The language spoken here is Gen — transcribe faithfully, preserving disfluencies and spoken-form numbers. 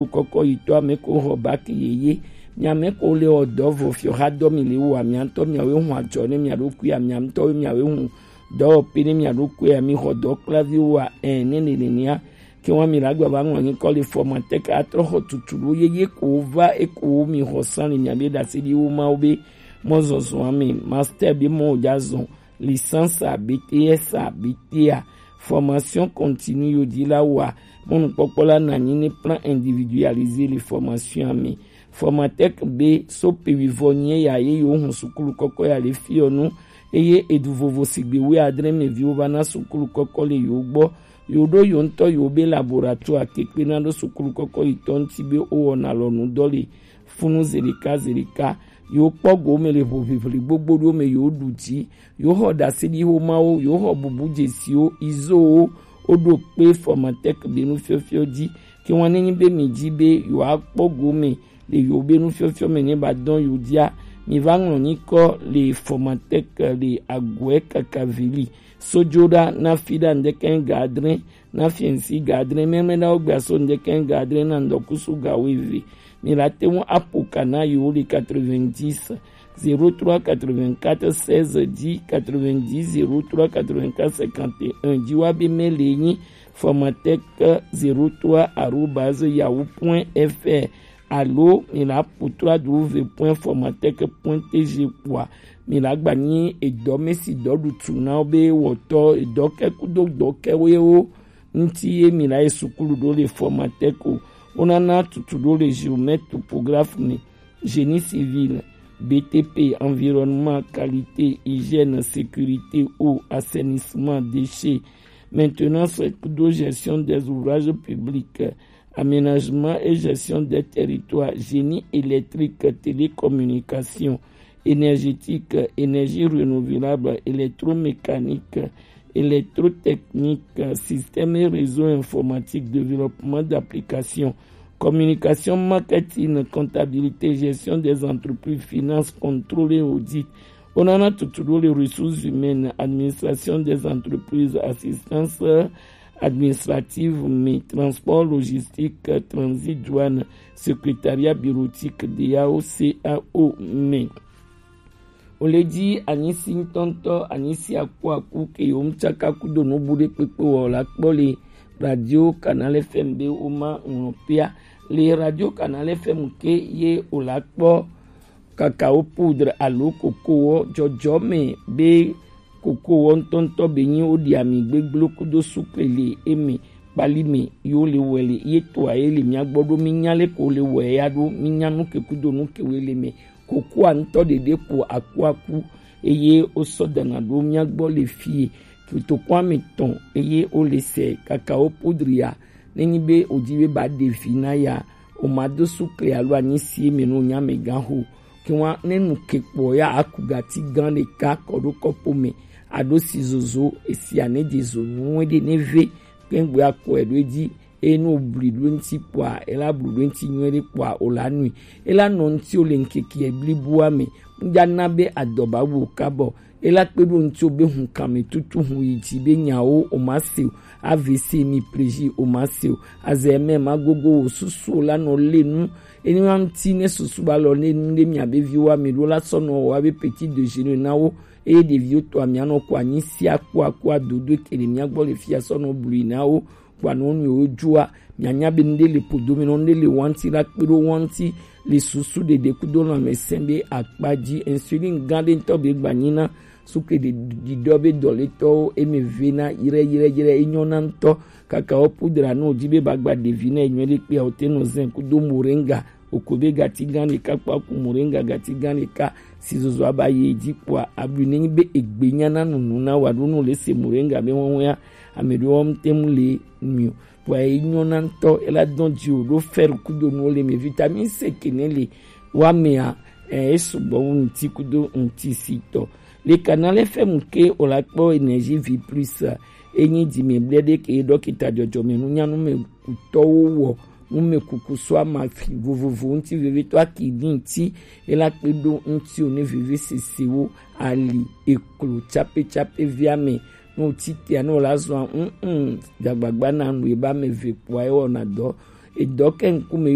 kɔkɔ yitɔ ame ko xɔ baki yeye. Mia mɛ ko le ɔ dɔ vɔ fiɔ xa dɔ mi le wa mia ŋutɔ mia we hun ajɔ ne mia ɖokui ya mia ŋutɔ we mia we hun dɔ pe ne mia ɖokui ya mi xɔ dɔ kplavi wa ɛ ne ne ne nia. Ke wa mi la gba va ŋlɔ nyi kɔ le formateur ka trɔ xɔ tutu ɖo yeye ko va e ko mi xɔ san le mia be ɖase ɖi wo ma wo be mɔ zɔzɔ ame master be mɔ o ja zɔn licence à B T S à B T A, formation continue yo di la wa mɔnukpɔkpɔ la na nyi ne plan individualisé le formation ame. Formatec be so pe wivɔ nyi ya ye yo hun sukulu kɔkɔ ya le fiɔ nu eye edu vovo sigbe wi adre me viwo va na sukulu kɔkɔ le yo gbɔ. Yo ɖo yo ŋutɔ yo be laboratoire kekpe na ɖo sukulu kɔkɔ yi tɔ ŋuti be o wɔna lɔ nu dɔ le funu zelika zelika. Yo kpɔ go me le ʋuʋiʋli gbogbo ɖo me yo ɖu dzi. Yo xɔ ɖaseɖiho mawo, yo xɔ bubu dzesiwo, izowo, wo ɖo kpe formatec be nufiɔfiɔ dzi. Ke wan ne nyi be mi dzi be yo akpɔ go me le yo be nufiɔfiɔ me ne ba dɔn yo dia, mi va ŋlɔ nyikɔ le formatec le agoɛ kakaveli. Sojoɖa na fi ɖa ŋdɛkɛ ga adre na fiɛnsi ga adre mɛmɛ ɖa wo gbia so ŋdɛkɛ ga adre na ŋdɔkusu ga wo eve. Mi la te ŋu apo kana yo le quatre-vingt-dix zéro trois quatre-vingt-quatre seize dix quatre-vingt-dix zéro trois quatre-vingt-quatre cinquante et un dzi wa be mail le nyi formatec zéro trois arobase yahoo point F R alo mi la ƒo trois W point formatec point T G kpoa mi la gba nyi edɔ me si dɔ ɖu tu na wo be wɔtɔ edɔ kɛ kudo dɔ kɛ wo ye wo ŋuti ye mi la yi sukulu ɖo le formatec o. Wo nana tutu ɖo le géomètre topographe me, génie civil, B T P, environnement, qualité, hygiène, sécurité, eau, assainissement, déchets, maintenance kudo gestion des ouvrages publics, aménagement et gestion des territoires, génie électrique, télécommunication, énergétique, énergie renouvelable, électromécanique, électrotechnique, système et réseau informatique, développement d'applications, communication, marketing, comptabilité, gestion des entreprises, finance, contrôle et audit. On en a tout, tout les ressources humaines, administration des entreprises, assistance administrative, mais transport, logistique, transit, douane, secrétariat bureautique, D A O, C A O, mais. O le dzi anyisi ŋutɔŋutɔ, anyisi akuaku ke yewo ŋtsaka kudo nubu ɖe kpekpe wɔ la kpɔ le Radio Canal F M be woma ŋlɔkpea. Le Radio Canal F M ke ye o la kpɔ kakao poudre alo kokowɔ dzɔdzɔ me be kokowɔ ŋutɔŋutɔ be nyi wo ɖi ami gbegblẽ kudo sukle le eme kpali me yo le wɛ le ye toa ye le mia gbɔ ɖo mi nya le ko le wɛ ya ɖo mi nya nu ke kudo nu ke wo le me. Kokoa ŋutɔ ɖeɖe ko akuaku eye wosɔ dana ɖo mía gbɔ le fie. Kotokua me tɔn eye wole sɛ kakawo podria. Nenyi be wòdi be ba ɖe vi na ya, wòmado sukle alo anyi si eme no nya me gã ho. Ke wa ne nu ke kpɔ ya aku gati gã ɖeka kɔ ɖo kɔpo me aɖo si zozo esia ne dze zo nu ɖe ne ve kpɛngbe akɔe ɖo edzi. Eye ne wòblui ɖo eŋuti kpɔa, ela blu ɖo eŋuti nyuie ɖe kpɔa, wòla nui. Ela nɔ ŋutiwò le ŋkeke bliboa me. Ŋdza na be adɔ ba wu o kabɔ. Ela kpe ɖo ŋutiwò be hunkame tutu hun yi dzi be nyawo wòma se o. A V C mi plezi wòma se o. Azɛ mɛ ma gogo wò susu o la nɔ le nu. Eni wa ŋuti ne susu ba lɔ ne nu ɖe mia be viwo ame ɖo la sɔ nɔ wɔ abe petit déjeuner na wo. Eye ɖeviwo tɔ amia nɔ kɔ anyi sia kpɔ akɔ adodo ke ɖe mia gbɔ le fia sɔ nɔ blui na wo. Kpɔa nɔ nu yewo dzoa, mianya be nu ɖe le podo me nɔ nu ɖe le wanti la kpe ɖo wanti le susu ɖeɖe kudo lãmesẽ be akpa dzi. Insuline gã ɖe ŋutɔ be gba nyi na sukle ɖe ɖiɖɔ be dɔletɔwo eme ve na yrɛ yrɛ yrɛ enyɔ na ŋutɔ. Kaka wo pudra no di be ba gba ɖevi na enyɔ ɖe kpea o te nɔ zɛn kudo moringa. Oko be gati gã ɖeka kpaku moringa gati gã ɖeka si zozo aba yi edzi kpɔa, aɖui nenyi be egbe nya na nunu na wa ɖo nu le se moringa be wɔwɔa, ame ɖewo ŋute mu le mi o. Kpɔa enyɔ na ŋutɔ ela dɔn dzi o ɖo fer kudo nuwo le me, vitamine C ke ne le wa mea, eh, esugbɔ wu ŋuti kudo ŋuti si tɔ. Le Canal F M ke o la kpɔ Énergie Vie Plus, enyi dzi me ble ɖe ke dɔkita dzɔdzɔme nunya nu me kutɔwo wɔ nu me kuku so amafi vovovo ŋuti vevitɔ aki di ŋuti ela kpe ɖo ŋuti o ne veve sesewo ali eklo tsape tsape via me. Ne wòti tea ne wòla zɔa ŋuŋu dzagbagba na nu eba me ve kpɔa ewɔna dɔ. Edɔ kɛ ŋkume